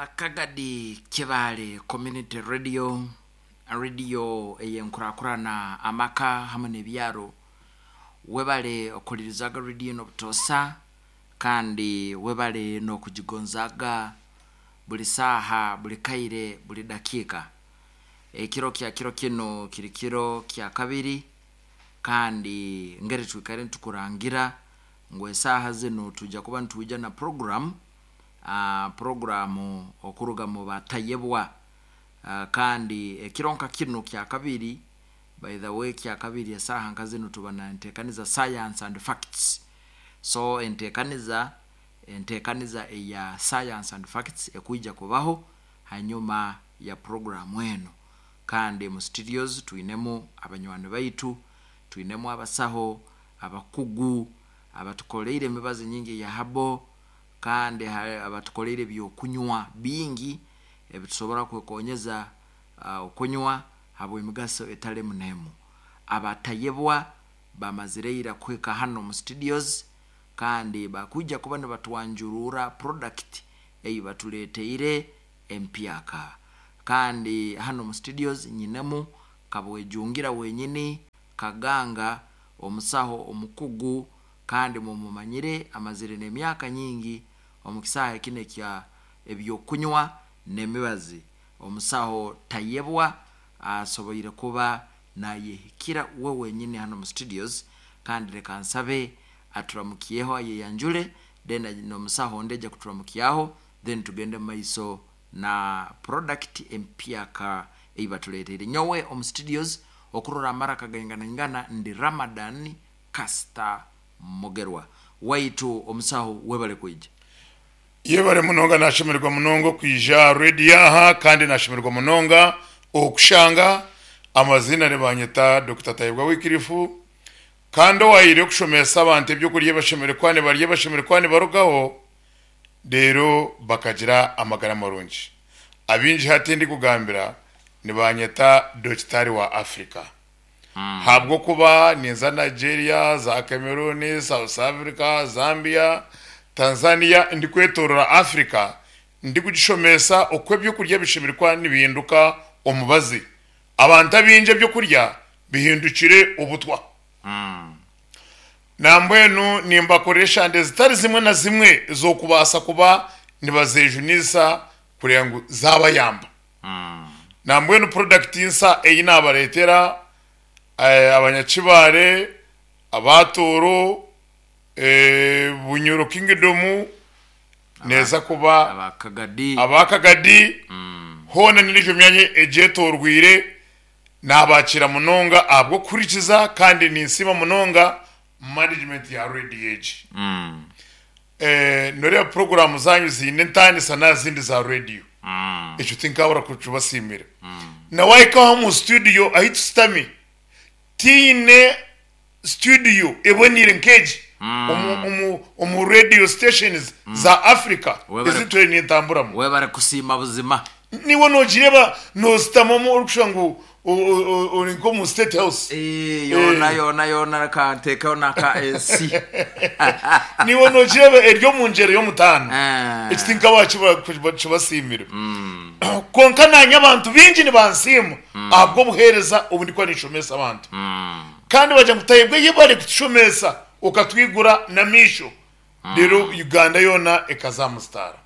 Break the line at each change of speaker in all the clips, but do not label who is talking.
Kagadi Kibaale Community Radio, rediyo ey'enkurakurana amaka hamwe n'ebyaro. Webale okuhuririzaga rediyo enu obutoosa kandi webale n'okugigonzaaga buri saaha, buri kaire, buri dakiika. Ekiro kya kiro kinu kiri kiro kya kabiri kandi ngeri twikaire nitukurangira ngu esaaha zinu twija kuba nitwija na puroguramu, puroguramu okuruga mu batayebwa. Kandi ekiro nka kinu kya kabiri, by the way kya kabiri esaaha nka zinu tuba na enteekaniza science and facts. So enteekaniza, enteekaniza eya science and facts ekwija kubaho hanyuma ya puroguramu enu. Kandi mu studios twinemu abanywani baitu, twinemu abasaho abakugu abatukoleire emibazi nyingi eya herbal kandi abatukoleire ebyokunywa bingi ebitusobora kwekonyeza okunywa habw'emigaso etali emu n'emu. Abatayebwa bamazire ira kuhika hanu omu studios kandi bakwija kuba nibatwanjururra product ei batuleteire empyaka. Kandi hanu omu studios nyinemu Kabwejungira wenyini, Kaganga, omusaho omukugu kandi mumumanyire amazire n'emyaka nyingi omu kisaahe kinu ekya eby'okunywa n'emibazi. Omusaho Tayebwa asoboire kuba nayehikira we wenyini hanu omu studios kandi leka nsabe aturamukyeho ayeyanjule then n'omusaho ondi aija kuturamukyaho then tugende mumaiso na product empyaka ei batuleteire. Nyowe omu studios okurora amaraka gainganaingana ndi Ramadan Kasita Mugerwa. Waitu omusaho webale kwija.
Yebare munonga nashemererwa munonga okwija aha radio aha kandi nashemererwa munonga okushanga amaziina nibanyeta Dokita Tayebwa Wycliffe kandi owahaire okushomesa abantu ebyokurya ebashemereire kuba nibarya ebashemereire kuba nibarugaho reero bakagira amagara marungi. Abaingi hati ndikugambira nibanyeta Dokitaari wa Africa ahabw'okuba ninza Nigeria, za Cameroon, South Africa, Zambia, Tanzania ndikwetorora Africa ndikugishomesa oku ebyokurya bishemereire kuba nibihinduka omubazi. Abantu abaingi ebyokurya bihindukire obutwa. Nambwenu nimbakorera eshande zitari zimwe na zimwe ez'okubaasa kuba nibazejunisa kureba ngu zabayamba. Nambwenu porodakiti nsa ei nabareetera Abanyakibare, aba Tooro, Bunyoro Kingdom neeza kuba aba Kagadi hoona n'endiijo myanya egyetorweire Naabakiira munonga ahabw'okuhurikiza kandi ninsiima munonga management ya radio egi. Noreeba puroguraamu zaanyu ziine entaanisa n'aha zindi za radio. Ekyo tinkaabura kukibasiimira. Na waahika aha omu studio ahu tusitami, tihaine studio eboneire nk'egi omu radio stations za Africa ezi ntwire nintamburamu.
Webare kusiima buzima.
Niiwe nogireeba nositamamu orikushusha ngu ori nk'omu state house.
Yoona yoona yoona reka nteekeho n'aka AC.
Niiwe nogireeba eri omu ngyera y'omutaano. Eki tinkabaha kibasiimire. Kwonka naanye abantu baingi nibansiima ahabw'obuheereza obu ndikuba ninshomesa abantu. Kandi bagira ngu Tayebwa yebare kutushomesa okatwigura n'amaisho reero Uganda yoona ekaza aha musitaara.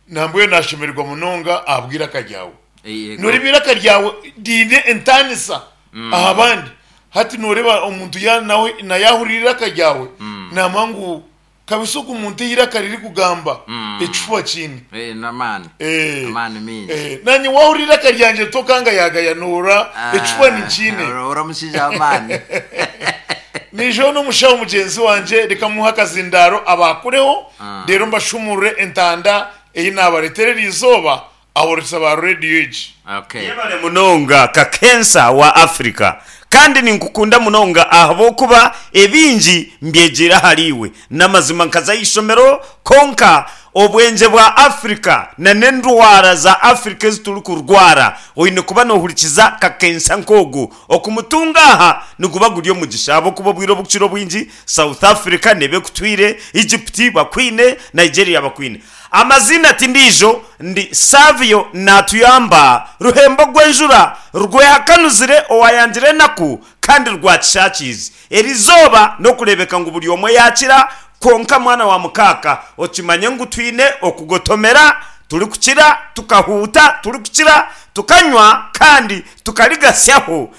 Nambwenu nashemererwa munonga ahabw'eiraka ryawe. Noreeba eiraka ryawe riine entaanisa aha bandi. Hati noreeba omuntu nawe yahurira eiraka ryawe namanya ngu Kabisa ogu muntu eiraka ririkugamba ekifuba kiine.
Eh, n'amaani.
Eh,
Amaani mingi.
eh, nanye wahurira eiraka ryangye tokangayagaya noora ekifuba ninkiine.
Ori omushaija w'amaani.
Niijeho n'omushaho mugyenzi wangye reka muhe akazindaaro abaakureho reero mbashumurure entanda ei naabareetera eri izooba Aborisa ba rediyo egi.
Okay.
Yebare munonga Kakensa wa Africa. Kandi ninkukunda munonga ahabw'okuba ebingi mbyegyeire ahari iwe. N'amazima nkaza aha ishomero kwonka. Obwengye bwa Africa na n'endwara za Africa ezi turikurwara, oine kuba nohurikiza kakensa nk'ogu. Okumutunga aha niguba guri omugisha ahabw'okuba obwire obukukira obwingi South Africa neeba ekutwire, Egypt bakwine, Nigeria bakwine. Amaziina ti ndiijo, ndi Savio Natuyamba, Ruhembo rw'enjura rwehakanuzire owayangire enaku kandi rwakishakiize. Eri izooba n'okureebeka ngu buri omwe yaakira, kwonka mwana wa mukaaka okimanye ngu twine okugotomera, turikukira, tukahuuta, turikukira, tukanywa kandi tukarigatsyaho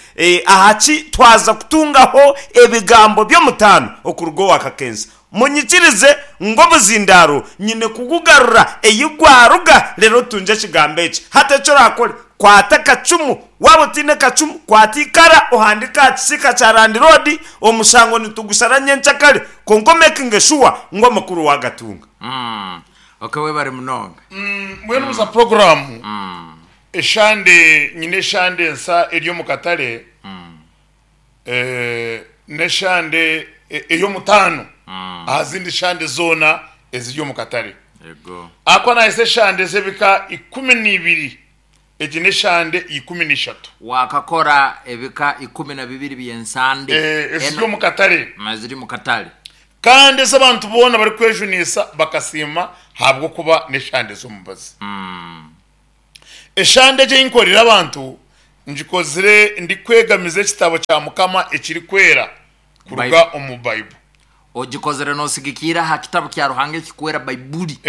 aha ki twaza kutungaho ebigambo by'omutaano okuruga owa Kakensa. Munyikirize ngu obuzindaaro nyine kugugarura ei gwaruga reero otungye ekigambo eki. Hati eki oraakore, kwata akacumu, waaba otaine kacumu, kwata eikara ohandiike aha kisiika kya landiroodi, omushango nitugushara nyenkyakare, kwonka omekinge shuwa ngu amakuru waagatunga.
Ok webare munonga.
Mbwenu buza puroguraamu eshande nyine eshande ensa eri omu katare. N'eshande ey'omutaano aha zindi shande zoona eziri omu katare. Ahakuba naahisa eshande z'ebika 12, egi n'eshande 13.
Waakakora ebika 12 by'ensande
Eziri omu katare.
Eziri omu katare.
Kandi ezi abantu boona barikwejuniisa bakasiima ahabw'okuba n'eshande z'omubazi. Eshande egi ei nkorire abantu, ngikozire ndikwegamiza ekitabo kya Mukama ekirikwera kuruga omu Baibuli.
Ogikozire nosigikirra aha kitabo kya Ruhanga ekikwera Baibuli.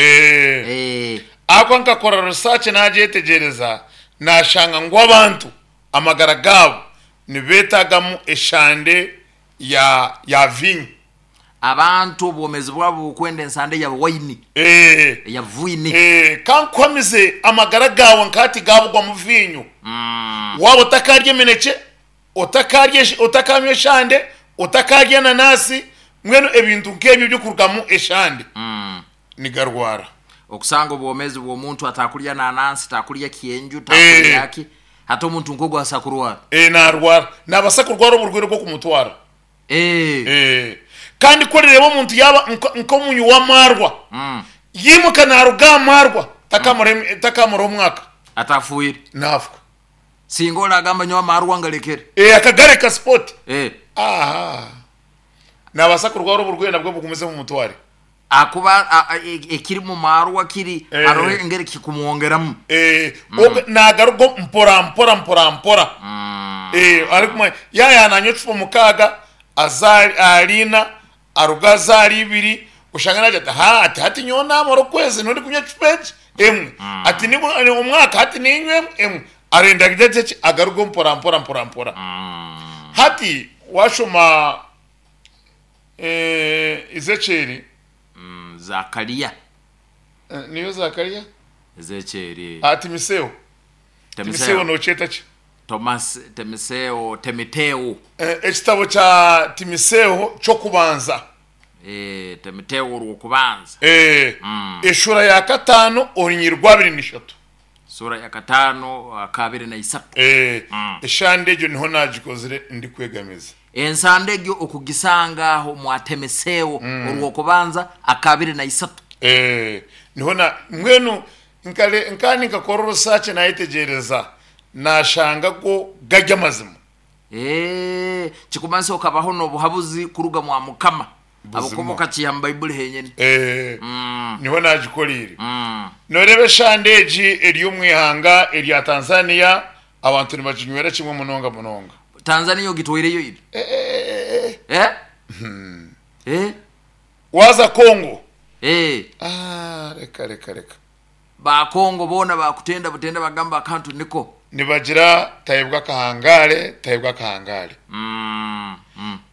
Ahakuba nkakora research nagyetegyereza nashanga ngu abantu amagara gaabo nibetagamu eshande ya vinyo.
Abantu obwomeezi bwabo bukwenda ensande ya waini, eya vwini.
Ka nkuhamize amagara gaawe nka hati gaabugwamu viinyo. Waaba otakaarya eminekye, otakaarya otakanywa eshande, otakaarya enanaasi, mbwenu ebintu nk'ebyo ebirikurugamu eshande nigarwara.
Okusanga obwomeezi bw'omuntu atakurya nanansi, takurya kyenju, takurya ki, hati omuntu nk'ogwo abaasa kurwara?
Naarwara. Naabaasa kurwara oburwaire bw'okumutwara. Kandi ku orireeba omuntu yaaba nk'omunywi w'amaarwa, yaimuka naaruga aha maarwa, takaamaraho omwaka.
Atafiire.
Naafa.
Singa oragamba nyowe amaarwa ngarekere.
Akagareka sipoti. Aha. Naabaasa kurwara oburwaire nabwo bugumize bumutware.
Ahakuba ekiri mu maarwa kiri hariho engeri kikumwongeramu.
Obwe naagaruga mpora mpora mpora mpora. Arikumanya yaaba nanywa ecupa mukaaga aza ahari ina, aruga aza ahari ibiri, oshange naagira ati haa ati hati nyowe naamara okwezi niho ndikunywa ecupa egi emwe, ati omwaka hati niinywa emwe emwe, arenda agire ki agaruge mpora mpora mpora mpora. Hati waashoma Ezekieli.
Zakaria.
Niyo Zakaria?
Ezekieli.
Ah, Timiseo. Timiseo nokyeta ki?
Thomas, Timiseo, Timiteo.
Ekitabo kya Timiseo ky'okubanza.
Timiteo orw'okubanza.
Eshuura ya kataano orunyiriri rw'abiri n'ishatu.
Sura ya kataano akabiri na isatu.
Eshande egyo niho naagikozire ndikwegamiza.
Ensande egyo okugisanga aho mwa Temiseo orw'okubanza akabiri na isatu.
Niho na mbwenu nkare nkaba ninkakora orusaaki naayetegyereza naashanga go gari amazima.
Kikumanisa okabaho n'obuhabuzi kuruga mwa Mukama. Ahabw'okuba okakiiha mu Baibuli henyini.
Niho naagikoreire. Nooreeba eshande egi eri omu ihanga erya Tanzania, abantu nibaginywera kimwe munonga munonga.
Tanzania ogitwaireyo ira?
Waaza Congo? Reka reka reka.
Ba Congo boona bakutenda butenda bagamba akantu niko.
Nibagira tayebwa akahangare tayebwa akahangare.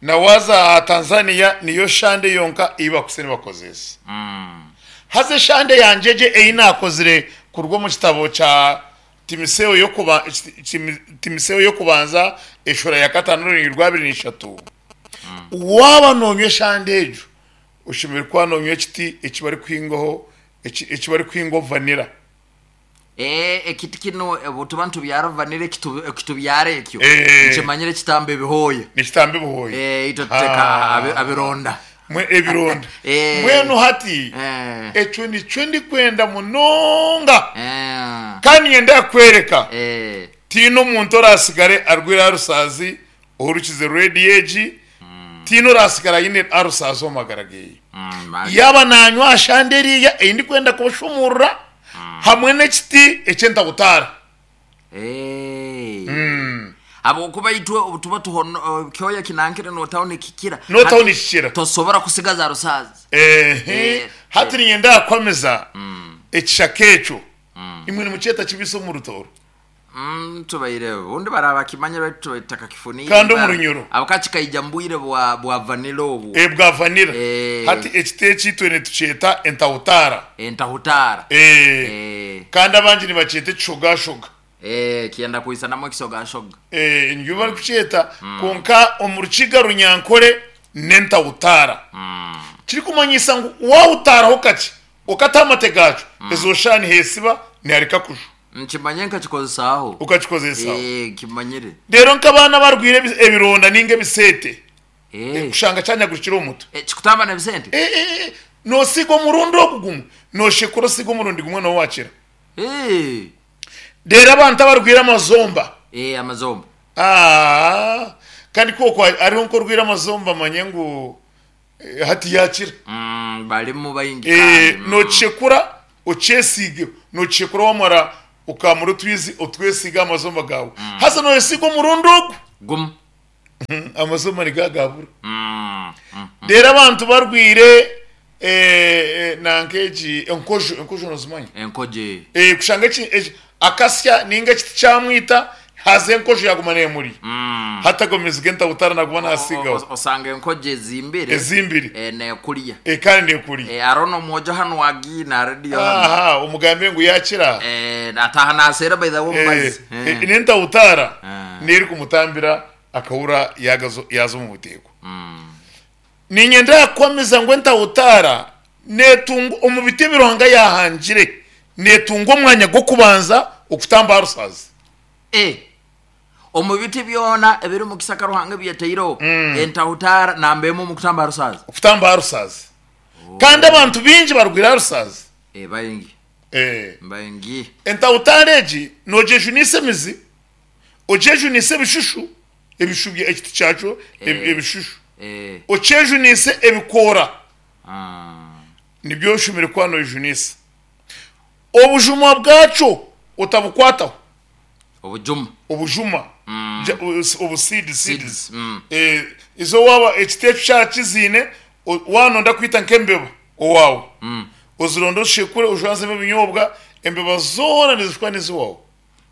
Na waza aha Tanzania niyo shande yonka ei bakuse nibakozesa. Haza eshande yangye egyo ei nakozire kuruga omu kitabo kya Timiseo y'okuba Timiseo y'okubanza eshura ya katano orunyiriri rwa abiri n'ishatu, waaba nonywa eshande egyo oshemereire kuba nonywa ekiti eki barikuhingaho eki barikuhingaho vanira.
Ee, ekiti kinu obu tuba nitubyara vanira ekitubyara ekyo, nkimanyire kitamba ebihooya.
Nikitamba ebihooya.
Ee, itwe tuteka abironda.
Mwe ebironda.
Eh.
Mbwenu hati
Eh.
ekyo nikyo ndikwenda munonga
Eh.
kandi niinyenda kukwereka
Eh.
tihaine omuntu orasigare arwaire arusaazi ohurikize rediyo egi tihaine orasigara aine arusaazi omu magara geye. Yaaba naanywa aha shande eriya ei ndikwenda kubashumuurura hamwe n'ekiti eky'entabutaara.
Habwokuba itwe obu tuba tuhono kyoya kinankire nootaho nikikira.
Nootaho
Hati
nikikira.
Tosobora kusigaza rusaazi.
Ehe,
Eh,
hati niinyenda kukwamiza ekishaka ekyo. Imwe nimukyeta kibisi omu Rutooro.
Tubaire obundi baraba bakimanyire baitu tubaire tutakakifuniire.
Kandi omu Runyoro.
Habwokuba kikaija mu bwire bwa bwa vanilla obwo.
Eh, bwa vanilla.
Eh.
Hati ekiti eki itwe nitukyeta entahutaara.
Entahutaara.
Eh.
Eh.
Kandi abangi nibakyeta ekishogashoga.
Eh, kyenda kwisanamu ekisogashoga.
Eh, nibyo barikukyeta kwonka omu Rukiga Runyankore n'entahutaara. Kirikumanyisa ngu waahutaaraho kakye okataho amate gaakyo, ezo shaaha niheesiba nihareka kujwa.
Nkimanye nkakikozesaaho.
Okakikozesaho.
Eh, nkimanyire.
Reero nk'abaana abarwaire ebironda ninga ebiseete,
Eh.
kushanga kyanyagurukire omu mutwe.
Eh, kikutamba n'ebisente?
Eh, eh, eh, noosiiga omurundi ogu gumwe, nooshekura osiiga omurundi gumwe nooba waakira.
Eh.
Reero abantu abarwaire amazomba.
Eh, amazomba.
Ah, kandi kwokwo hariho nk'orwaire amazomba manye ngu eh, hati yaakira.
Barimu baingi
Eh,
kandi.
Nookishekura okyesiige, nookishekura wamara okamura otwizi otwesiige aha mazomba gaawe. Haza nooyesiiga omurundi ogu.
Gumwe.
Amazomba nigagabura. Reero abantu barwaire eh, eh, nanka egi enkojo, enkojo nozimanya?
Enkojo.
Eh, kushanga eki, eki, akasya ninga ekiti kyamwita haza enkojo yaguma nemurya. Hati ago maizi g'entabutara naguma nasiigaho.
Osanga enkojo ezimbire.
Ezimbire.
Eh, nekurya.
Eh, kandi nekurya.
Eh, hariho n'omwojo hanu wagiina rediyo hanu.
Aha, omugambe ngu yakira.
Eh, ataaha naseera by the way omubazi.
Eh, eh, n'entabutara
Eh.
niyo erikumutambira akahura yagazo yaza omu buteeko. Niinyenda kukuhamiza ngu entahutaara neetungwa omu biti ebi Ruhanga yaahangire, neetungwa omwanya gw'okubanza okutamba aha rusaazi.
Eh, omu biti byona ebiri omu kisaka Ruhanga ebi yataireho, entahutaara namba emwe omu kutamba aha rusaazi.
Okutamba aha rusaazi. Kandi abantu baingi barwaire aha rusaazi.
Eh, baingi.
Eh.
Baingi.
Entahutaara egi noogyejunisa emizi, ogyejunise ebishushu, ebishu bya ekiti kyakyo
Eh.
ebishushu,
Eh.
okyejunise ebikoora,
Ah.
nibyo oshemereire kuba noyejunisa. Obujuma bwakyo otabukwataho.
Obujuma.
Obujuma. Obu seed, seeds.
Seeds.
Eh, izo waaba ekiti ekyo kyaba kiziine, waaba noyenda kwita nk'embeba owaawe, ozironde ozishekure ojwanzemu ebinyobwa, embeba zoona nizishwa n'eziwawe.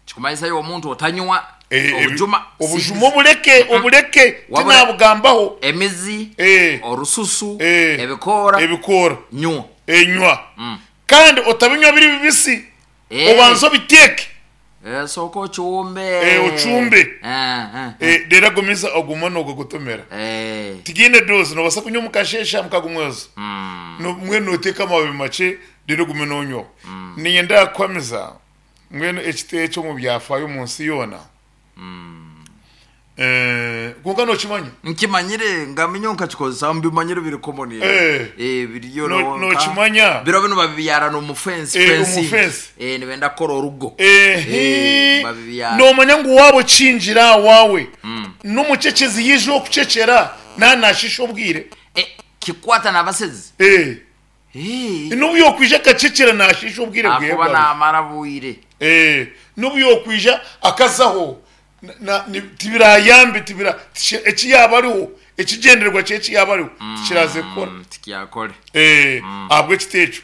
Kikumanyisa iwe omuntu otanywa
Eh, ebi-
obujuma.
Obujuma
Seeds.
obuleke, obuleke,
Wabura-
tinabugambaho.
Emizi,
Eh.
orususu,
Eh.
ebikoora,
Ebikoora.
nywa.
Enywa. Kandi otabinywa biri bibisi.
Eh.
Obanze obiteeke.
Eh, sooka ocumbe.
Eh, ocumbe.
Eh, eh, eh.
Eh, reero agumize ogume noogogotomera.
Eh.
Tigiine dose, noobaasa kunywa omu kasheeshe aha muka gumwezo. Mbwenu nooteeka amababi makye reero ogume noonywaho. Niinyenda kukuhamiza mbwenu ekiti eki omu byafaayo omu nsi yoona. Eh, kwonka nookimanya?
Nkimanyire ngamenya nkakikozesa mbimanyire biri common.
Eh.
Eh, biriyo
Nookimanya?
Biro binu babibyara n'omu fence.
Eh, omu
Fencing.
fence.
Eh, nibenda kukora orugo.
Ehe.
Eh, babibyara.
Noomanya ngu waaba okingira owaawe, n'omucecezi yaija okucecera naaba naashiisha obwire.
Eh, kikwata n'abasezi.
Eh.
Eh.
N'obu yookwija akacecera naashiisha obwire bweye
Akuba
bwawe.
naamara bwire.
Eh, n'obu yookwija akazaho, na- na- ni- tibirayambe, tibira, tishi- eki yaaba ariho, ekigyendererwa kye eki yaaba ariho, tikiraaze kukora.
Tikyakore.
Eh, ahabw'ekiti ekyo.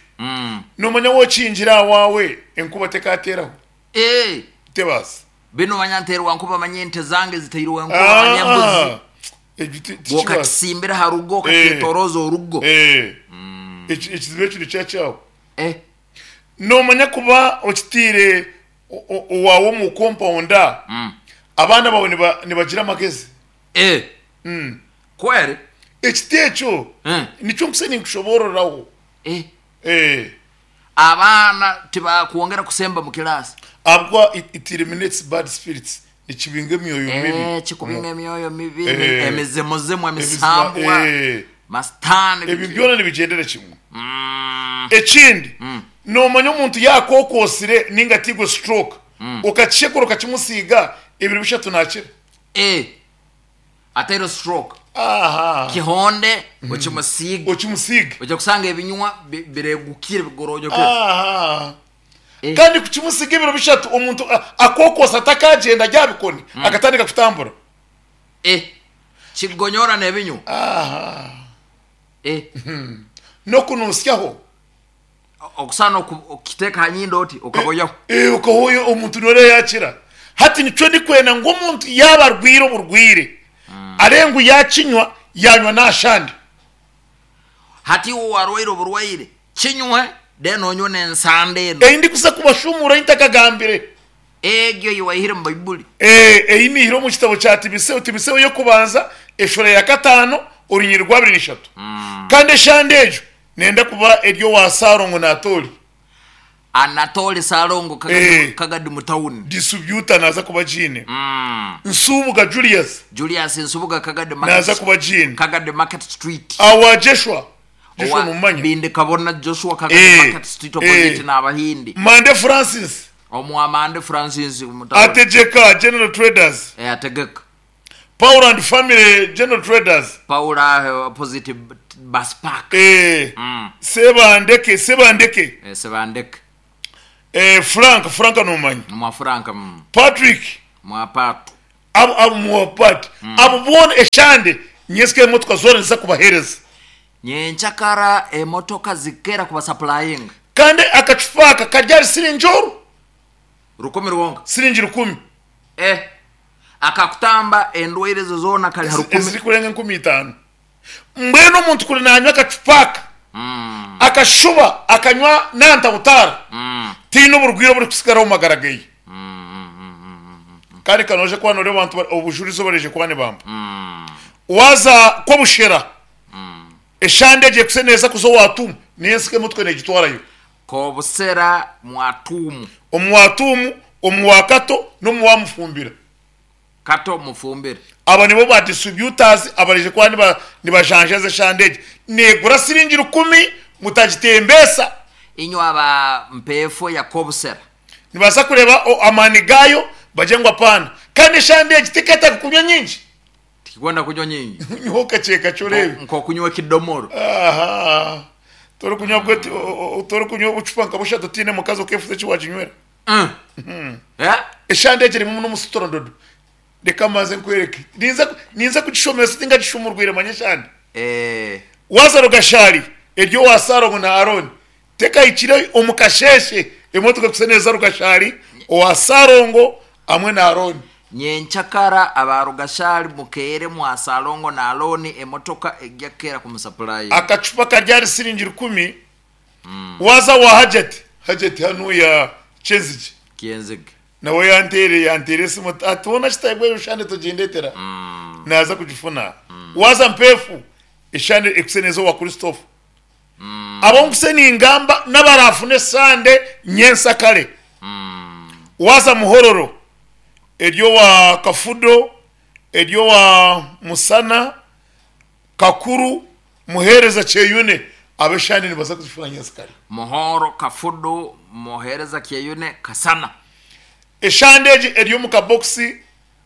Noomanya wookingira owaawe, enkuba tekateeraho.
Eh.
Tebaasa.
Binu manya nteerwa nkuba manya ente zange ziteirwe nkuba manya embuzi.
Ah, ekyo tikibaasa.
Okakisimbira aha rugo okakyetoroza orugo.
Eh. Ekizibu ekyo nikyo kyaho.
Eh.
Noomanya kuba okitiire owaawe omu kompawunda, abaana baawe nibagira amagezi.
Eh. Kweri?
Ekiti ekyo nikyo nkusa ninkushoboororaho.
Eh.
Eh.
Abaana tibakwongera kusemba mu kilaasi.
Ahabw'okuba it eliminates bad spirits, nikibinga emyoyo mibi.
Eh, kikubinga emyoyo mibi,
Eh.
emizimuzimu,
Emizima,
emisambwa.
eh.
Masitaani
Ebyo byona nibigyendera kimwe. Ekindi, noomanya omuntu yaakookoosire nainga ateirwe stroke, okakishekura okakimusiiga, ebiro bishatu naakira.
Eh, atairwe stroke.
Aha.
Kihonde okimusiige.
Okimusiige.
Oija kushanga ebinywa biregukire bigoronyokire.
Aha. Kandi kukimusiga ebiro bishatu, omuntu akookoosa atakagyenda ari aha bikoni, akatandika kutambura.
Eh, kigonyora n'ebinywa.
Aha.
Eh.
N'okunuusyaho.
Okusaana okukiteeka aha nyindo oti okaboyaho.
Eh, okahoya omuntu noreeba yakira. Hati nikyo ndikwenda ngu omuntu yaaba arwaire oburwaire, areebe ngu yakinywa, yanywa n'ashande.
Hati iwe owarwaire oburwaire, kinywe then onywe n'ensande eno.
Ei ndikuza kubashumuura ei ntakagambire.
Egyo ei waihire omu Baibuli.
Ee, ei naihire omu kitabo kya Timiseo, Timiseo y'okubanza, eshuura ya kataano, orunyiriri rwa abiri n'ishatu. Kandi eshande egyo nenda kuba eri owa Saalongo Naatooli.
Anatole Saalongo
Ee.
Kagadi mu tawuni.
Disubyuta naaza kuba agiine. Nsubuga Julius
Julius Nsubuga Kagadi
naaza
Market,
kuba agiine.
Kagadi Market Street.
Awa Jeshua, Joshua
Owa
nomumanya?
Bindi Kabona Joshua Kagadi
Ee,
Market Street opposite
ee.
n'Abahindi.
Mande Francis
Omwa Mande Francis omu tawuni.
Ategeka General Traders.
Ee, Ategeka.
Paul and Family General Traders.
Paul aho opposite Bus Park.
Ee, Sebandeke, Sebandeke.
Ee, Sebandeke.
Ee, Frank, Frank nomumanya?
Mwa Frank. Mm.
Patrick.
Mwa Patu.
Abo, abo mwa Pat. Abo boona eshande nyensika emotoka zoona niziza kubaheereza.
Nyenkyakara emotoka zikeera kubasapurayinga.
Kandi akacupa aka kari ahari siringi oru.
Rukumi rwonka.
Siringi rukumi.
Eh, akakutamba endwaire ezo zoona kari ha rukumi.
Ezirikurenga 5000. Mbwenu omuntu kuri nanywa akacupa aka, akashuba akanywa n'antabutaara, tihaine oburwaire oburikutsigara omu magara geye. Kandi ka noija kuba noreeba abantu obujurizi obu baraije kuba nibampa. Waaza Kobushera, eshande egyo ekuse neeza kuza owa Tuumu, niyo ensika emwe negitwarayo.
Kobusera mwa Tuumu.
Omu wa Tuumu, omu wa Kato n'omu wa Mufumbira.
Kato Mufumbira.
Aba nibo ba distributors abaraije kuba niba nibajanjaza eshande egi. Negura siringi rukumi mutagitembeesa.
Inywe aba Mpeefo ya Kobusera.
Nibaasa kureeba amaani gaayo bagire ngu apaana. Kandi eshande egi teketaaga kunywa nyingi.
Tikikwenda kunywa nyingi.
Nywaho kakye kakye oreebe.
Nk'okunywa ekidomoro.
Aha. Torikunywa bwe torikunywa obucupa nka bushatu otiine mukazi okeefuza eki waaginywera.
Eh?
Eshande egi erimu n'omusitorondoodo. Reka mbanze nkwereke. Ninza ninza kugishomesa tingagishumurwire manya eshande.
Eh.
Waaza Rugashari eri owa Saalongo na Arooni. Tekahikire omu kasheeshe emotoka ekusa neeza Rugashari owa Saalongo hamwe na Arooni.
Nyenkyakara aba Rugashari mukeere mwa Salongo na Alooni emotoka egya keera kumusapurayinga.
Akacupa kari ahari siringi rukumi waaza owa Hajati, Hajati hanuya Kyenzigye
Kyenzige.
nawe yanteire yanteire esimu ati hoona Kitayebwa eyo shande togindetera naaza kugifuna. Waaza Mpeefu eshande ekuse neeza owa Christopher. Abu nkuse ningamba n'abaraafune esande nyensakare. Waaza Muhororo eri owa Kafudo, eri owa Musana, Kakuru, Muheereza Kyeyune, abo eshande nibaza kuzifuna nyensikare.
Muhoro, Kafudu, Muheereza Kyeyune, Kasana.
Eshande egi eri omu kabokisi,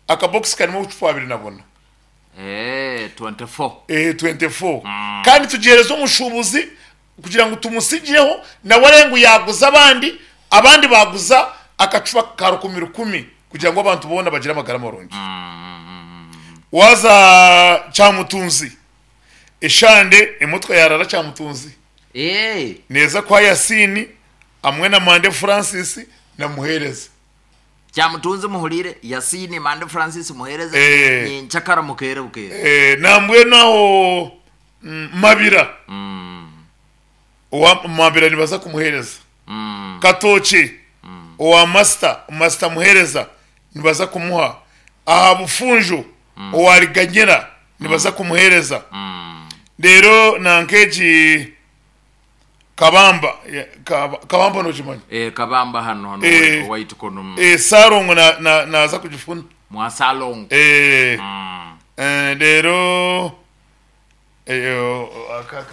akabokisi karimu obucupa 24.
Eeh, 24.
Eeh, 24. Kandi tugiheereza omushuubuzi kugira ngu tumutsigireho nawe areebe ngu yaaguza abandi, abandi baaguza akacupa ka rukumi rukumi kugira ngu abantu boona bagire amagara marungi. Waaza Kyamutunzi, eshande emotoka yaaraara Kyamutunzi
Eeh.
neeza kuha Yasiini hamwe na Mande Francis na Muheereza.
Kyamutunzi muhuriire, Yasiini Mande Francis Muheereza,
Eh.
Nyenkyakara mukeere bukeere.
Eh, nambwenu aho Mabira owa Mabira nibaza kumuheereza. Katookye owa Masita, Masita Muheereza nibaza kumuha. Aha Bufunjo owa Riganyira nibaza kumuheereza. Reero nanka egi Kabamba, Kabamba nogimanya?
Eh, Kabamba hano hano
Eh.
owaitu kunu.
Eh, Sarongo na, na, naza kugifuna.
Mwa Salongo.
Eh, eh, reero. Aka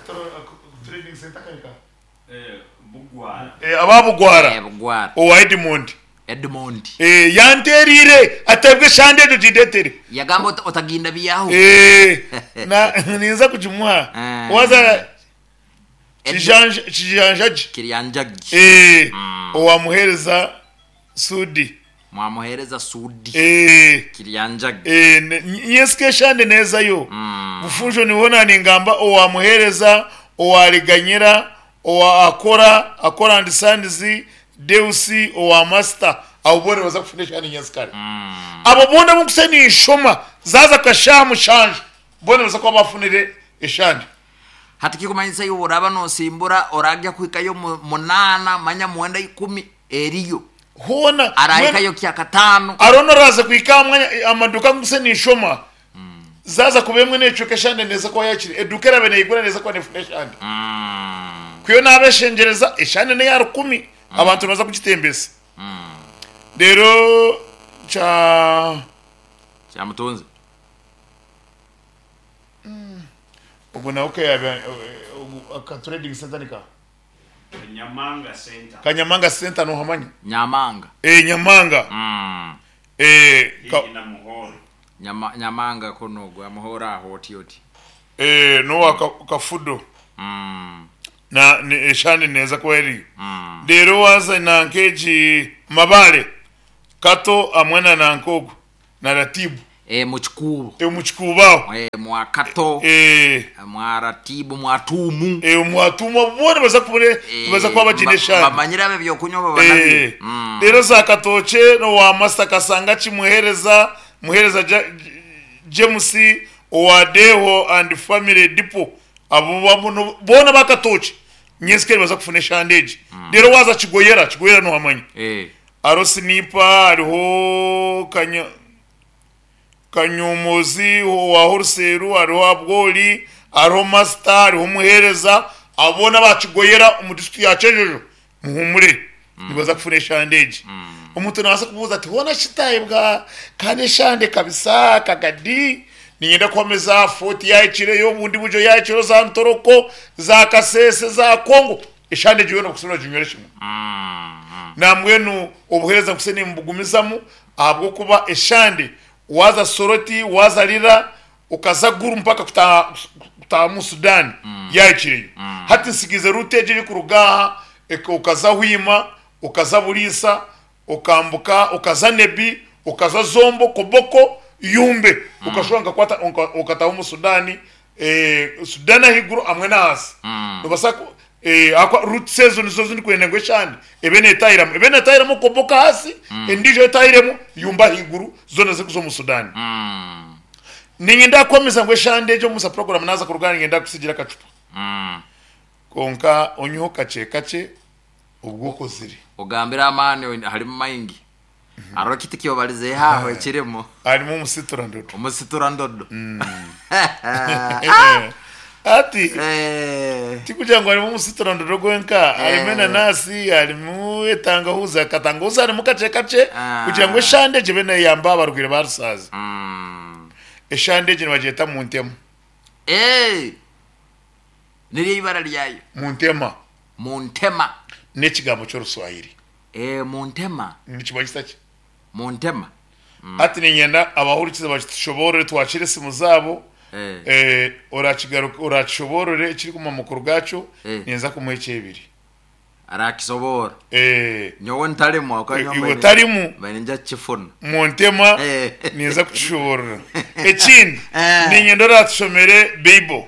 trading center kari nkaha? Aba Bugwara
Bugwara.
Owa Edmond.
Edmond.
Yanteereire ati ebwe eshande egyo gindeetere.
Yagamba oti otaginda byaho.
Na ninza kugimuha. Waza Kijanja Kijanjagi.
Kiryanjagi.
Owamuheereza Sudi.
Mwamuheereza Sudi. Kiryanjagi.
Nyensika eshande neezayo. Bufunjo niho naaningamba owamuheereza, owa Riganyira, owa Akora, Akora and Sons, Deus, owa Master. Abo boona nibaza kufuna eshande nyensikare. Abo boona abu nkutsya ninshoma zaaza kashaha mushanju boona nibaza kuba baafunire eshande.
Hati kikumanyisa iwe oraba nosimbura oragya kuhikayo munaana manya mwenda ikumi eriyo.
Hoona
Arahikayo kyakataano.
Hariho n'oraaza kuhika aha mwanya amaduuka agu nkutsya ninshoma zaaza kuba emwe neecweka eshande neeza kuba yaakire eduuka eraabe neeyigura neeza kuba neefuna eshande. Ku naabeshengyereza eshande n'eya rukumi abantu nibaza kugitembesa. Reero kya.
Kyamutunze.
Ogwo nawe ka aka trading center ni kaha?
Kanyamanga Center.
Kanyamanga Center nohamanya?
Nyamanga.
Eh, Nyamanga. Eh, ka,
Haihi na Muhoro.
Nyama, Nyamanga kunu ogwo Muhoro aho oti oti.
Eh, n'owa Kafudo. Na ni eshande neeza kuba eriyo. Reero waaza nanka egi Mabale, Kato hamwe na nanka ogwo na Ratibu.
Eh, mu Kikuubo.
Eh, omu Kikuubo aho.
Eh, mwa Kato.
Eh.
Mwa Ratibu, mwa Tuumu.
Eh, mwa Tuumu abo boona nibaza kuba nibaza kuba bagiine eshande.
Bamanyire abo eby'okunywa baba nabyo.
Eh. Reero za Katookye n'owa Master Kasanga Kimuheereza, Muheereza James owa Deho and Family Depot abo boona aba Katookye nyensikare nibaza kufuna eshande egi. Reero waaza Kigoyera, Kigoyera nohamanya?
Eh.
Hariho Sinipa, hariho Kanya Kanyuumuzi owa Horuseeru, hariho Abwoli, hariho Masita, hariho Muheereza, abo boona aba Kigoyera omu disiturikiti ya Kyenjojo muhuumure nibaza kufuna eshande egi. Omuntu naabaasa kubuuza ati hoona shi Tayebwa kandi eshande kabisa kagadi niinyenda kuhamiza Fort yaahikireyo, obundi buryo yaahikireyo za Ntoroko, za Kasese, za Kongo, eshande egyo yoona okusobola kuginywera kimwe. Nambwenu obuheereza nkutsya nimbugumizamu ahabw'okuba eshande waaza Soroti, waaza Lira, okaza Gulu mpaka kutaaha kutaaha omu Sudan yaahikireyo. Hati ntsigiize ruuti egyo erikuruga aha okaza Hoima, okaza Buliisa, okambuka okaza Nebbi, okaza Zombo, Koboko, Yumbe okashuba nkakwata okataaha omu Sudan, Sudan ahaiguru hamwe n'ahansi. Noobaasa Ahakuba roots ezo nizo ezi ndikwenda ngu eshande ebe neetahiramu. Ebe neetahiramu Koboko ahansi, endiijo etahiremu Yumbe ahaiguru, zoona zirikuza omu Sudan. Niinyenda kukuhamiza ngu eshande egyo omu program naaza kuruga aha niinyenda kukutsigira akacupa. Kwonka onyweho kakye kakye obwo okozire.
Ogambire amaani harimu maingi. Hariho ekiti kyobarizeho aho ekirimu.
Harimu omusitura ndodo.
Omusitura ndodo.
Hati tikugira ngu harimu omusitura ndodo gwenka, harimu enanasi, harimu etangahuzi, akatangahuzi harimu kakye kakye kugira ngu eshande egyo ebe neyamba abarwaire ba rusaazi. Eshande egyo nibagyeta muntema.
Niryo eibara ryayo.
Muntema.
Muntema.
N'ekigambo ky'Oruswahili.
Ee, Muntema.
Nikimanyisa ki?
Muntema.
Hati niinyenda abahurikize bakitushoboorore twakiire esimu zaabo.
Eh.
Orakigaruka orakishoboorore ekiri omu makuru gaakyo,
Eh.
ninza kumuha ekyebiri.
Arakisoboora.
Eh.
Nyowe ntarimu ahabw'okuba nyowe
Iwe
mbaire
otarimu.
mbaire ninza kukifuna.
Muntema
Eh.
ninza kukishoboorora. Ekindi,
Eh.
niinyenda oratushomere Bible.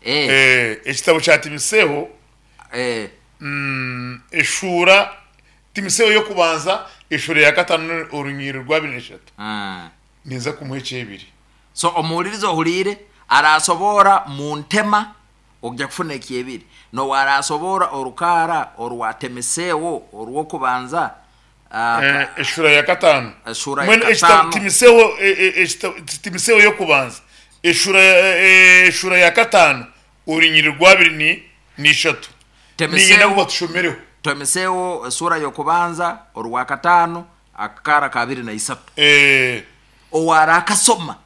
Eh.
Eh, ekitabo kya Timiseho.
Eh.
Eshuura, Timiseho y'okubanza eshuura ya katano orunyiriri rw'abiri n'eshatu. Ninza kumuha ekyebiri.
So omuhuririza ohuriire araasoboora mu ntema ogya kufuna ekyebiri, n'obu araasoboora orukaara orwa Temisewo orw'okubanza
Eshuura ya katano.
Eshuura ya
Mbwenu ekitabo
katano.
Timiseho ekitabo Timiseho y'okubanza eshuura eshuura ya katano orunyiriri rw'abiri ni n'ishatu. Niinyenda ngu
Temisewo
batushomereho.
Temisewo esura y'okubanza orwakataano akakaara ka abiri na isatu.
Eh.
Owaarakasoma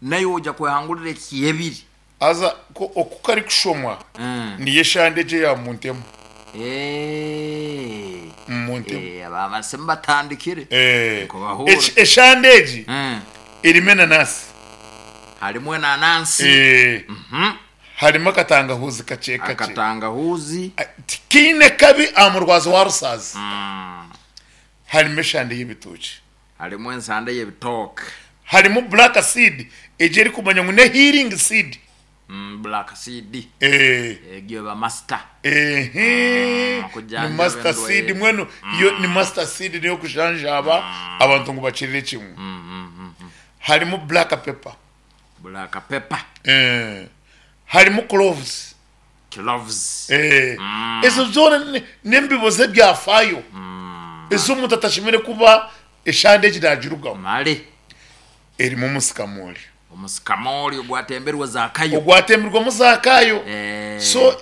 naiwe oija kwehangurira ekyebiri.
Haza ko oku karikushomwa niyo eshande egyo eya Muntema.
Eh.
Muntema.
Eh, aba abasimu batandikire.
Eh.
Nkubahuura.
Eki- Eshande egi erimu enanasi.
Harimu enanansi.
Eh. Harimu akatangahuuzi kakye kakye.
Akatangahuuzi.
Tikaine kabi aha murwazi wa rusaazi. Harimu eshande y'ebitookye.
Harimu ensande y'ebitooke.
Harimu black seed egyo erikumanywa ngu ne healing seed.
Black seed.
Eh.
Egyo eba master.
Ehe. Ni
Kujanjaba
master seed
endwaire.
mbwenu yo ni master seed niyo kujanjaba abantu ngu bakirire kimwe. Harimu black pepper.
Black pepper.
Eh. Harimu cloves.
Cloves.
Eh. Ezo zoona n'embibo z'ebyafaayo ezi omuntu atashemereire kuba eshande egi naagirugamu.
Mare.
Erimu omusikamoori.
Omusikamoori ogwatemberwe Zaakayo.
Ogwatembirwemu Zaakayo.
Eh.
So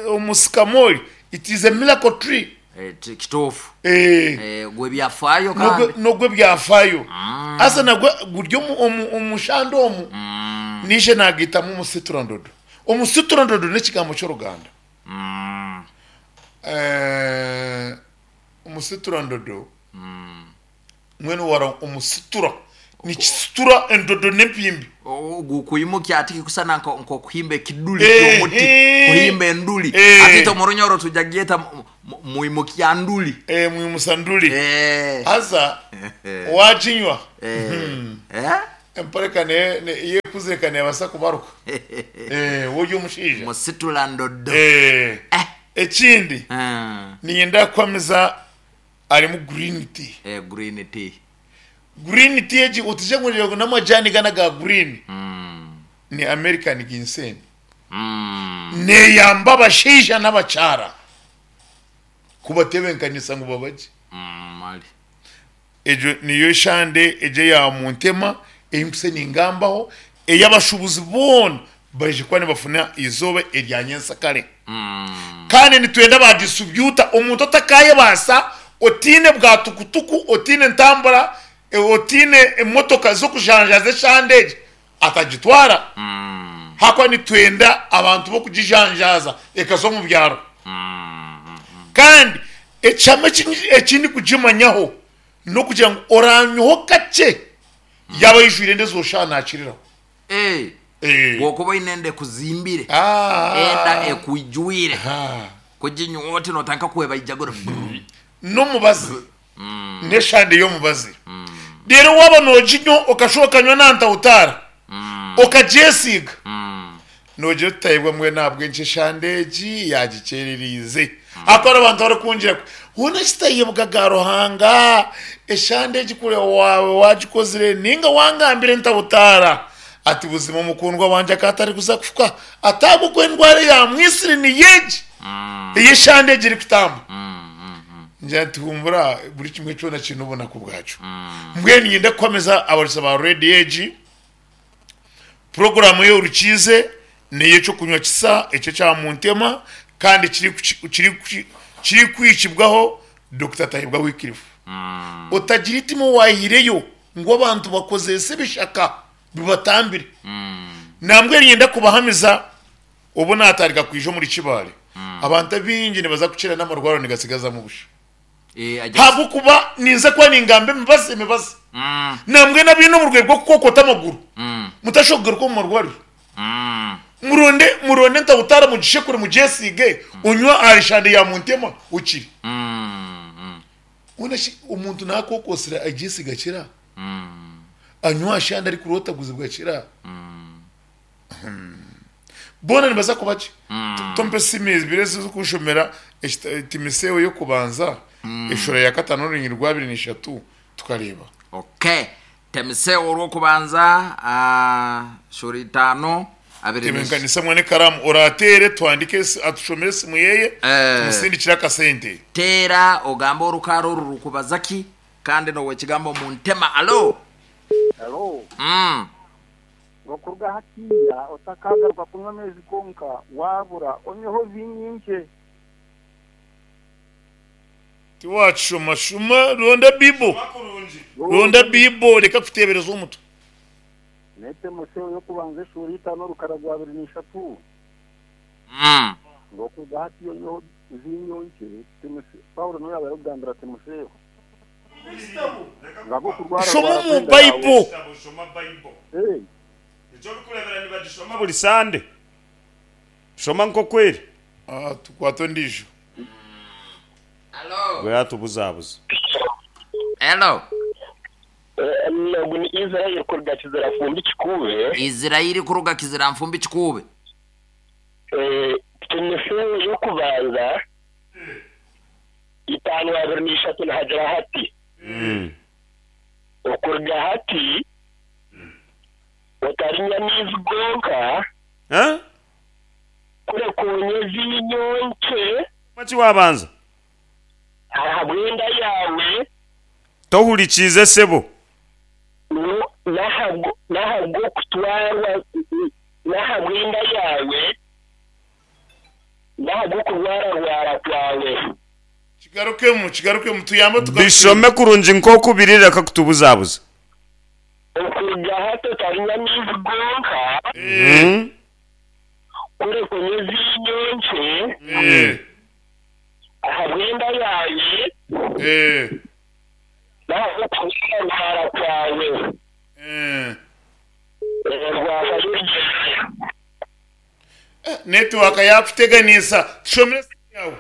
omusikamoori it is a miracle tree.
Eh, kituufu.
Eh.
Eh, gw'ebyafaayo kandi.
N'ogw'ebyafaayo. Haza nagwo guri omu shande omu, naija naagaitamu omusiturandodo. Omusiturandodo n'ekigambo ky'oruganda. Eh, omusiturandodo mbwenu wara omusitura nikisitura endodo n'empimbi.
Ogu kwimukya ati kikusana nk'okuhimba ekiduli
Eh,
ky'omuti,
eh.
kuhimba enduli.
Eh.
Ati itwe omu Runyoro twija kugyeta mwimukya nduli.
Eh, mwimusa nduri.
Eh.
Haza waginywa
Eh?
empare ka eyekuzire ka neebaasa kubaruka. Eh, woori omushaija.
Musitula ndodo.
Eh.
Eh.
Ekindi
Ah.
niinyenda kuhamiza harimu green tea.
Eh, green tea.
Green tea egi otije ngu ngu n'amajani gana aga green ni American ginseng. Neeyamba abashaija n'abakyara kubatebenkanisa ngu babagye.
Mali.
Egyo niyo eshande egyo eya Muntema ei nkutsya ningambaho ei abashuubuzi boona baije kuba nibafuna eizooba erya nyensakare. Kandi nitwenda ba disitribyuta omuntu otakayebaasa otaine bwa tukutuku, otaine ntambura, otaine emotoka z'okujanjaaza eshande egi atagitwara. Ahakuba nitwenda abantu b'okugijanjaaza ekaza omu byaro. Kandi ekihama eki ndikugimanyaho n'okugira ngu oranywaho kakye yaaba aijwire enda ezo shaaha naakiriraho.
Eh,
Eh.
Bw'okuba oine enda ekuzimbire,
Ah.
enda ekwijwire,
Ah.
kuginywa oti nootandika kwebaijagura.
N'omubazi n'eshande y'omubazi. Reero waaba nooginywa okashuba okanywa na ntawutaara okagyesiiga noogira oti Tayebwa mbwenu ahabw'enki eshande egi yaagikyerereize? Ahakuba hariho abantu abarikungira ngu hoona shi Tayebwa ga Ruhanga eshande egi kuri waawe waagikozire nainga wangambire ntawutaara ati buzima omukundwa wangye akaba atarikuza kufa ati ahabw'okuba endwara eyaamwitsire niyo egi ey'eshande egi erikutamba. Ngira nti huumura buri kimwe kyona kiine obunaku bwakyo. Mbwenu niinyenda kuhamiza abareesa ba rediyo egi, puroguraamu ey'orukiize n'ey'eky'okunywa kisa eky'ekya Muntema kandi kirikuhikibwaho Dokita Tayebwa Wycliffe. Otagira eitima owaahireyo ngu abantu bakozese ebishaka bibatambire. Nambwenu niinyenda kubahamiza Obu naatandika kwija omuri Kibaale, abantu abaingi nibaza kukira n'amarwariro nigatsigazamu busha. Ahabw'okuba ninza kuba ningamba emibazi emibazi. Nambwenu abaine oburwaire bw'okukokota amaguru, mutashoboka kugaruka omu marwariro. Muronde muronde entawutaara mugishekure mugyesiige, onywe aha eshande ya Muntema okire. Mbwenu shi omuntu naakokosire agyesiiga akira? Anywa aha shande arikurootaguzibwa akira? Boona nibaza kuba gye. Tompa esimu ibiri ezi ezirikunshomera Timotheo y'okubanza eshuura ya kataano n'orunyiriri rwa abiri na ishatu tukareeba.
Okay. Timotheo orw'okubanza shuura itaano abiri na ishatu.
Tebenkanisa mwene ekaraamu oraateere tuhandiike atushomere esimu yeye tumusindikire akasente.
Teera ogambe orukaara oru rukubaza ki kandi n'ow'ekigambo Muntema. Alo.
Alo. Ngu okuruga hatiiya otakaagaruka kunywa amaizi gonka, waabura onyweho viinyo nkye.
Tiwaakishoma shuma ronda Bible, ronda Bible reka kuteebereza omutwe.
N'Timoseo y'okubanza eshuura itaano orukara rwa abiri na ishatu. Ngu okuruga hati onyweho viinyo nkye, Paulo niwe yaabaire arikugambira Timoseo. Ngu ahabw'okurwara
Shoma
rwara
omu
kw'enda yaawe.
Bible.
Ee.
Eki orikureebera nibagishoma buri Sande. Shoma nk'oku eri.
Ah, tukwate ondiijo.
Hello.
Gwe yatubuzabuza.
Hello.
Ogu ni Israel kuruga Kizira-Nfumbi Kikuube.
Israel kuruga Kizira-Nfumbi Kikuube.
Timotheo y'okubanza 5:23 nihagira hati, Okuruga hati otarinywa amaizi gonka, kureka onywe viinyo nkye.
Ki waabanza?
Ahabw'enda yaawe.
Tohurikiize sebo.
N'ahabw'okutwarwa, n'ahabw'enda yaawe, n'ahabw'okurwararwara kwawe.
Kigarukemu, kigarukemu, tuyambe tugarukemu.
Bishome kurungi nk'oku biri reka kutubuzabuza.
Okuruga hati otarinywa maizi gonka, kureka onywe viinyo nkye. Ahabw'enda yaawe n'ahabw'okurwararwara kwawe, rwavayo rugyende.
Netiwaaka yaakuteganisa. Tushomere esimu yaawe.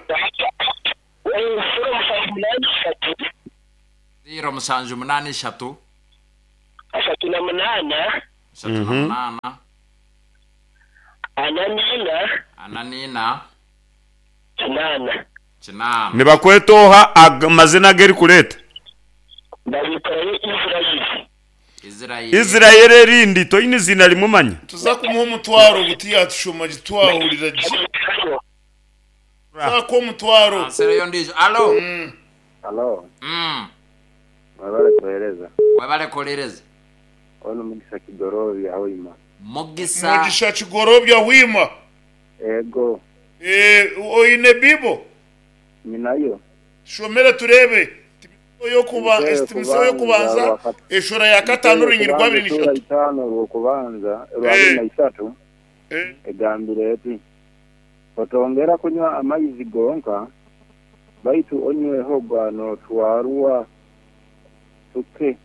0783.
0783.
38.
38.
44.
44.
Kinaana.
Kinaana.
Nibakweta oha amazina agerikureeta?
Babikorayo Israeli.
Israeli.
Israeli erindi toine iziina rimwe manya.
Nituza kumuha omutwaro ogu tiyatushoma gye twahurira gye.
Babikorayo.
Tuza kuha omutwaro.
Ansereyo ondiijo. Alo.
Halo,
Mm.
mwebale kuhereza.
Webale kuhuririza.
Onu Mugisa Kigorobya Hoima.
Mugisa.
Mugisha Kigorobya Hoima.
Ego.
Eeh oine bible?
Nyinayo.
Tushomere tureebe.
Timoseo
Timoseo y'okubanza eshuura ya kataano orunyiriri rwa abiri na
Eshuura
ishatu.
itaano orw'okubanza orwa abiri na isatu egambire eti, Otongera kunywa amaizi gonka, baitu onyweho gwa notwarwa tuke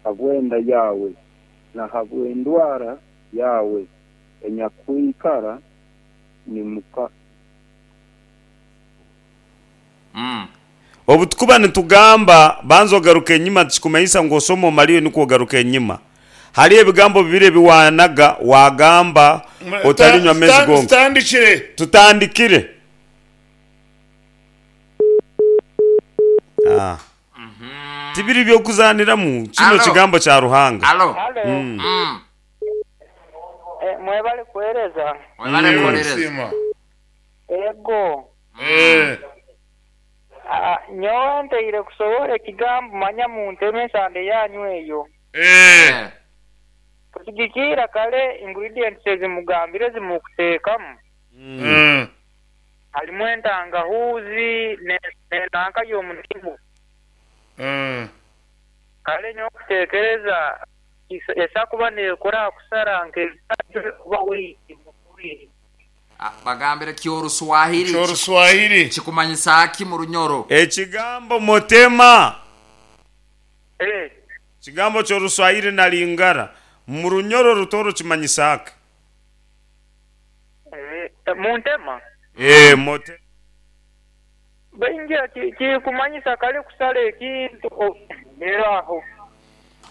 habw'enda yaawe na habw'endwara yaawe enyakwikara nimuka.
Obu tukuba nitugamba, banza ogaruke enyima tikikumanyisa ngu osome omariyo nikwo ogaruka enyima. Hariho ebigambo bibiri ebi waanaga waagamba otarinywa maizi gonka.
Tutandikire.
Tutandikire. Ah. Tibiri by'okuzaaniramu, kino
Alo.
kigambo kya Ruhanga.
Alo.
Halo. Mwebale kuhereza.
Webale kuhuririza.
Kusiima.
Ego. Nyowe nteire kusohora ekigambo manya munteme ensande yanyu eyo. Kusigikirra kare ingredients ezi mugambire ezi mukuteekamu harimu entangahuuzi n'enanka y'omunimu. Kare nyowe kutekereza esobola kuba nekora aha kusara nk'ebikajjo oba weight mumubiri.
Bagambire Kyoruswahili.
Kyoruswahili.
Kikumanyisa ki mu Runyoro?
Ekigambo motema. Ekigambo ky'Oruswahili na Lingala mu Runyoro Rutooro kimanyisa ki?
Muntema?
Ee, motema.
Baingi kirikumanyisa kare kusara ekintu reero aho.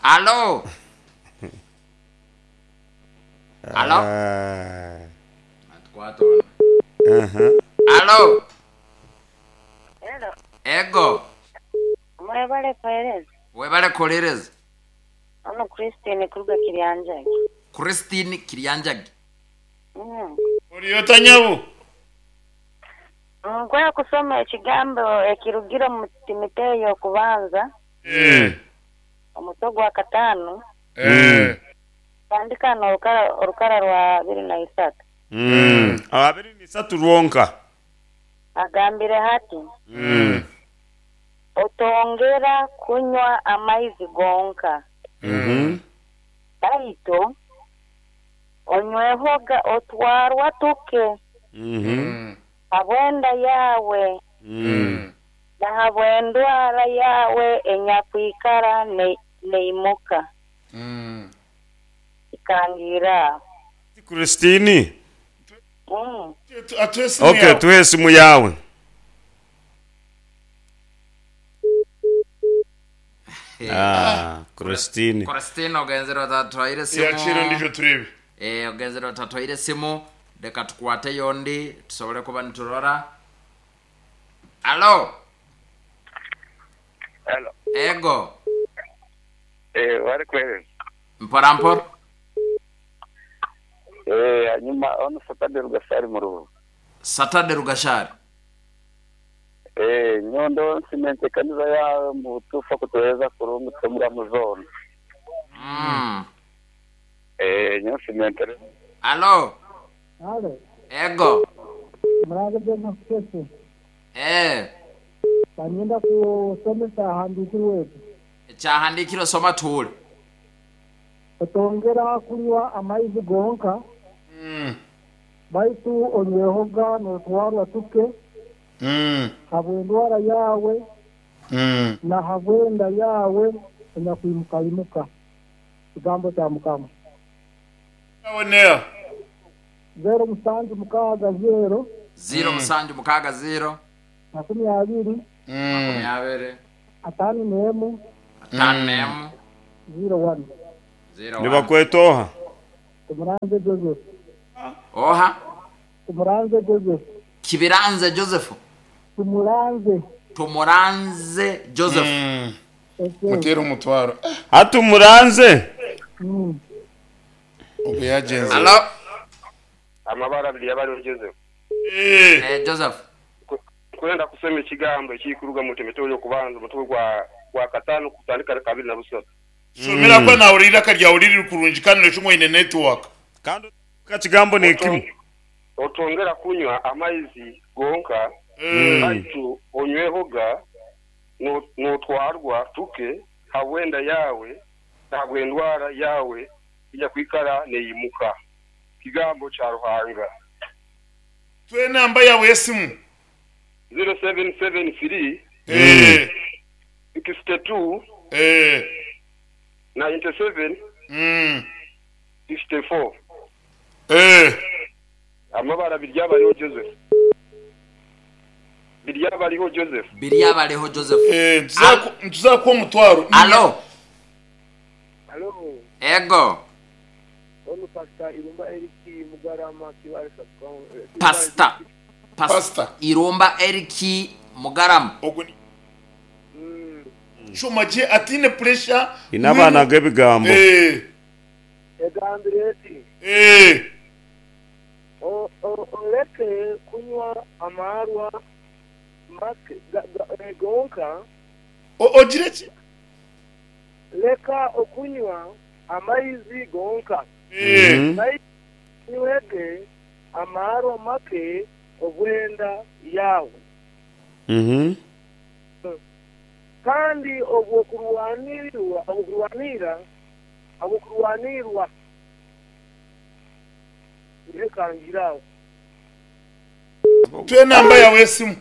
Alo! Alo! Atukwata onu. Alo!
Hello.
Ego!
Mwebale kuhereza.
Webale kuhuririza.
Onu Christine kuruga Kiryanjagi.
Christine Kiryanjagi.
Ori ota nyabo?
Nkwenda kusoma ekigambo ekirugire omu Timoteyo y'okubanza, omutwe gwa kataano, kutandika n'orukara orukara rwa 23.
23 rwonka.
Agambire hati, Otongera kunywa amaizi gonka, baitu Onywehoga otwarwa tuke habw'enda yaawe, na habw'endwara yaawe enyakwikara neimuka. Ikangiire aho.
Christine? Ok, tuhe esimu yaawe. Ah, Christine.
Christine ogenzere otatwaire simu.
Yakira ondijo turebe.
Eh, ogenzere otatwaire simu. Leka tukwate ondi tusobole kuba niturora. Alo.
Hello.
Ego.
Eh, wari kweri.
Mpora mpora.
Eh, hanyuma ono Saturday Rugashari mu rubu.
Saturday Rugashari.
Eh, nyondo nsimente kanisa yawe mu tufa kutuweza kurungu tumura muzona. Eh, nyo nsimente.
Alo.
Alo.
Ego.
Murage Joseph Kese.
Eh.
Banyenda kusomesa ahandikirwe eki.
Ekyahandikirwe soma tuhure.
Otongera kunywa amaizi gonka. Baitu onywehoga notwarwa tuke. Habw'endwara yaawe. Na habw'enda yaawe enyakwimukaimuka. Kigambo kya Mukama.
Abonea.
0760.
0760.
20.
20.
51.
51.
01.
Nibakweta oha?
Tumuranze Joseph.
Oha?
Tumuranze Joseph.
Kibiranze Joseph.
Tumuranze.
Tumuranze Joseph.
Mutere omutwaro.
Hati Muranze.
Ogu yagenze.
Alo.
Amabara abiri yabariho Joseph.
Eh, Joseph.
Kwenda kusoma ekigambo ekirikuruga mu Timoteyo y'okubanza omutwe gwa gwa kataano kutandika na kabiri na busatu.
Shomera kuba nahurira eiraka ryawe riri kurungi kandi noshusha ngu oine network.
Kandi kigambo nekimwe.
Otongera kunywa amaizi gonka, baitu onywehoga notwarwa tuke habw'enda yaawe na habw'endwara yaawe enyakwikara neyimuka. Kigambo kya Ruhanga.
Tuhe enamba yaawe y'esimu.
0773 62 97 64. Amabara Biryabariho Joseph. Biryabariho Joseph.
Biryabariho Joseph.
Nituza kukuha omutwaro.
Alo.
Alo.
Ego.
Onu Pastor Irumba Eric Mugarama Kibaale Sub-County.
Pastor.
Pastor.
Irumba Eric Mugarama.
Ogwo ni Shoma gye ataine pressure.
Ine abaana g'ebigambo.
Egambire eti. Oreke kunywa amaarwa make gonka.
Ogire ki?
Leka okunywa amaizi gonka. Baitu onywege amaarwa make obw'enda yaawe. Kandi obw'okurwanirwa, obw'okurwanira, obw'okurwanirwa, leka ngire aho.
Tuhe enamba yaawe y'esimu.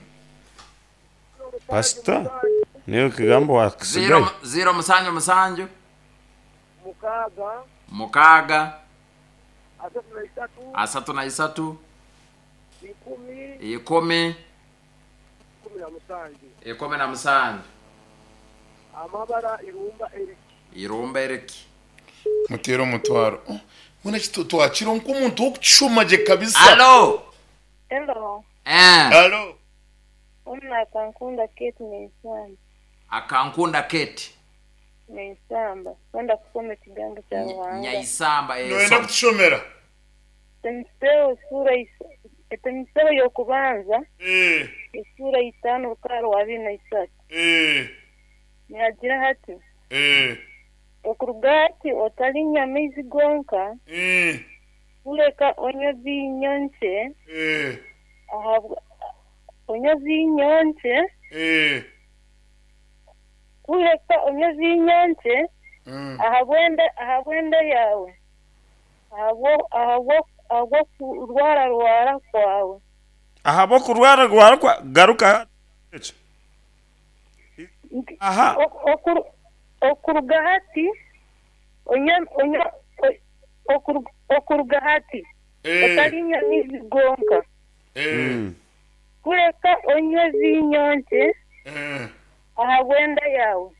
Pastor, niiwe ekigambo waakisigayo.
0 7 7.
6.
6.
33.
33.
10.
10.
17.
17.
Amabara Irumba Eric.
Irumba Eric.
Muteere omutwaro. Mbwenu eki twakira nk'omuntu w'okukishoma gye kabisa.
Alo.
Hello.
Eh.
Alo.
Onu Akankunda Kate Nyaisamba.
Akankunda Kate.
Nyaisamba. Kwenda kusoma ekigambo kya Ruhanga.
Nyaisamba. Eh,
Noyenda
soma.
kutushomera?
Timoteyo sura Timoteyo y'okubanza esura 5 orukara rwa 23. Nihagira hati, Okuruga hati otarinywa amaizi gonka, kureka onywe viinyo nkye, ahabwa onywe viinyo nkye, kureka onywe viinyo nkye ahabw'enda ahabw'enda yaawe. Ahabw'okurwararwara kwawe.
Ahabw'okurwararwara kwa. Garuka ekyo. Aha.
Okuruga hati okuruga hati otarinywa maizi gonka, kureka onywe viinyo nkye ahabw'enda yaawe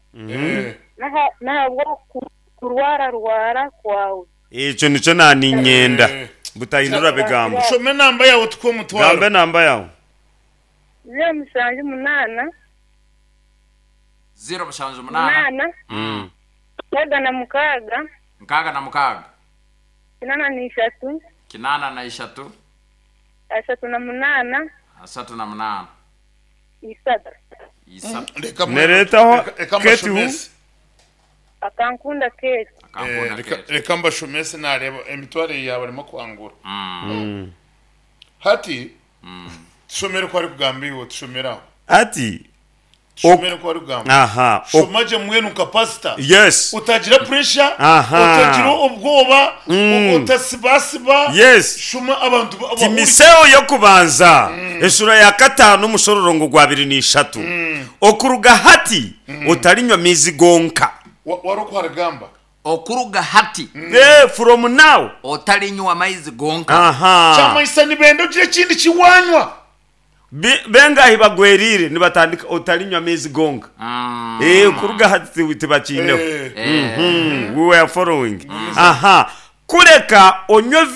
n'ahabw'okurwararwara kwawe.
Ekyo nikyo naaniinyenda. Butahindura bigambo.
Shoma enamba yaawe tukuhe omutwaro.
Gamba enamba yaawe.
078.
078.
8. 66.
66.
83.
83.
38.
38.
3.
Reka
Nereetaho
reka
Kate who?
mbashomese.
Akankunda Kate.
Eh, reka- reka mbashomese nareeba emitwaro yaaba arimo kwangura. Hati tushomere oku arikugamba iwe tushomere aho.
Ati
Tushomere oku arikugamba.
aha
Shoma gye mbwenu nka pasita.
Yes.
Utagira pressure,
Aha.
utagira obwoba, otasibasiba.
Yes.
Shoma abantu abahurire.
Timiseo y'okubanza eshuura ya kataano omushororongo gwa abiri n'ishatu. Okuruga hati otarinywa maizi gonka.
Wari oku arigamba.
Okuruga hati.
Eh, from now.
Otarinywa maizi gonka.
Aha.
Kyamanyisa nibenda ogire ekindi ki wanywa.
Bengahi bagweriire nibatandika otarinywa amaizi gonka. Eh, kuruga hati tibakiineho. We were following. Aha. Kureka onywe.